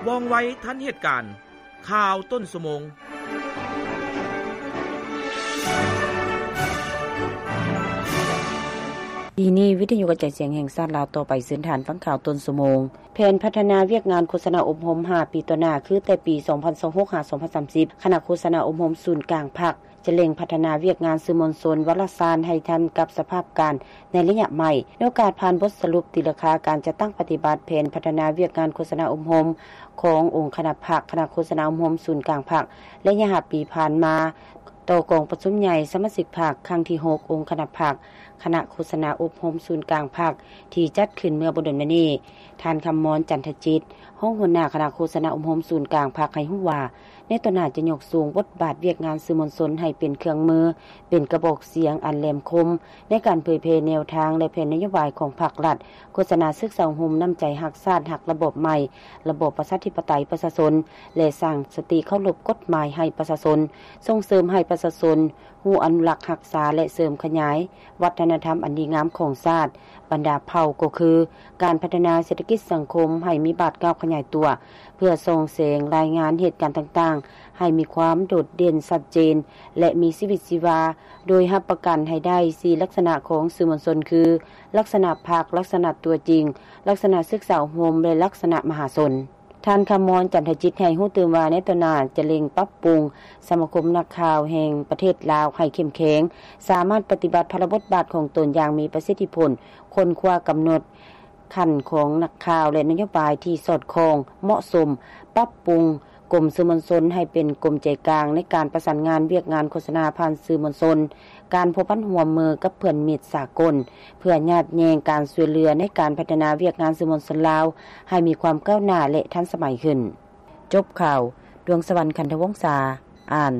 ວ່ອງໄວທັນເຫດການ. ຂ່າວຕົ້ນຊົ່ວໂມງ. ປີນີ້ ວິທະຍຸກະຈາຍສຽງແຫ່ງຊາດລາວຕໍ່ໄປ ເຊີນທ່ານຟັງຂ່າວຕົ້ນຊົ່ວໂມງ. ແຜນພັດທະນາວຽກງານໂຄສະນາອົບຮົມຫ້າປີຕໍ່ໜ້າ ຄືແຕ່ປີສອງພັນຊາວຫົກ ຫາ ສອງພັນສາມສິບ ຄະນະໂຄສະນາອົບຮົມສູນກາງພັກ ຈະເລັ່ງພັດທະນາວຽກງານສື່ມວນຊົນວາລະສານໃຫ້ທັນກັບສະພາບການໃນໄລຍະໃໝ່. ໃນໂອກາດຜ່ານບົດສະຫຼຸບຕີລາຄາການຈັດຕັ້ງປະຕິບັດແຜນພັດທະນາວຽກງານໂຄສະນາອົບຮົມຂອງອົງຄະນະພັກ ຄະນະໂຄສະນາອົບຮົມສູນກາງພັກ ໄລຍະຫ້າປີຜ່ານມາ ຕໍ່ກອງປະຊຸມໃຫຍ່ສະມາຊິກພັກຄັ້ງທີຫົກ ອົງຄະນະພັກ ຄະນະໂຄສະນາອົບຮົມສູນກາງພັກ ທີ່ຈັດຂຶ້ນເມື່ອບໍ່ດົນມານີ້, ທ່ານ ຄຳມອນ ຈັນທະຈິດ ຮອງຫົວໜ້າຄະນະໂຄສະນາອົບຮົມສູນກາງພັກ ໃຫ້ຮູ້ວ່າ ໃນຕໍ່ໜ້າຈະຍົກສູງບົດບາດວຽກງານສື່ມວນຊົນໃຫ້ເປັນເຄື່ອງມື, ເປັນກະບອກສຽງອັນແຫຼມຄົມ ໃນການເຜີຍແຜ່ແນວທາງ ແລະ ແຜນນະໂຍບາຍຂອງພັກລັດ, ໂຄສະນາສຶກສາອົບຮົມນ້ຳໃຈຮັກຊາດ, ຮັກລະບອບໃໝ່, ລະບອບປະຊາທິປະໄຕປະຊາຊົນ ແລະ ສ້າງສະຕິເຄົາລົບກົດໝາຍໃຫ້ປະຊາຊົນ, ສົ່ງເສີມໃຫ້ປະຊາຊົນ ຮູ້ອະນຸລັກຮັກສາ ແລະ ເສີມຂະຫຍາຍວັດທະນະທຳອັນດີງາມຂອງຊາດບັນດາເຜົ່າ ກໍຄືການພັດທະນາເສດຖະກິດສັງຄົມໃຫ້ມີບາດກ້າວຂະຫຍາຍຕົວ ເພື່ອສ່ອງແສງລາຍງານເຫດການຕ່າງໆ ໃຫ້ມີຄວາມໂດດເດັ່ນຊັດເຈນ ແລະ ມີຊີວິດຊີວາ, ໂດຍຮັບປະກັນໃຫ້ໄດ້ສີ່ລັກສະນະຂອງສື່ມວນຊົນ ຄື ລັກສະນະພັກ, ລັກສະນະຕົວຈິງ, ລັກສະນະສຶກສາອົບຮົມ ແລະ ລັກສະນະມະຫາຊົນ. ທ່ານ ຄຳມອນ ຈັນທະຈິດ ໃຫ້ຮູ້ຕື່ມວ່າ ໃນຕໍ່ໜ້າຈະເລັ່ງປັບປຸງສະມາຄົມນັກຂ່າວແຫ່ງປະເທດລາວໃຫ້ເຂັ້ມແຂງ, ສາມາດປະຕິບັດພາລະບົດບາດຂອງຕົນຢ່າງມີປະສິດທິຜົນ, ຄົ້ນຄວ້າກຳນົດຂັ້ນຂອງນັກຂ່າວ ແລະ ນະໂຍບາຍທີ່ສອດຄ່ອງ, ເໝາະສົມ, ປັບປຸງກົມສື່ມວນຊົນໃຫ້ເປັນກົມໃຈກາງໃນການປະສານງານວຽກງານໂຄສະນາຜ່ານສື່ມວນຊົນ, ການພົວພັນຮ່ວມມືກັບເພື່ອນມິດສາກົນ ເພື່ອຍາດແຍ່ງການຊ່ວຍເຫຼືອໃນການພັດທະນາວຽກງານສື່ມວນຊົນລາວໃຫ້ມີຄວາມກ້າວໜ້າ ແລະ ທັນສະໄໝຂຶ້ນ. ຈົບຂ່າວ, ດວງສະຫວັນ ຂັນທະວົງສາ ອ່ານ.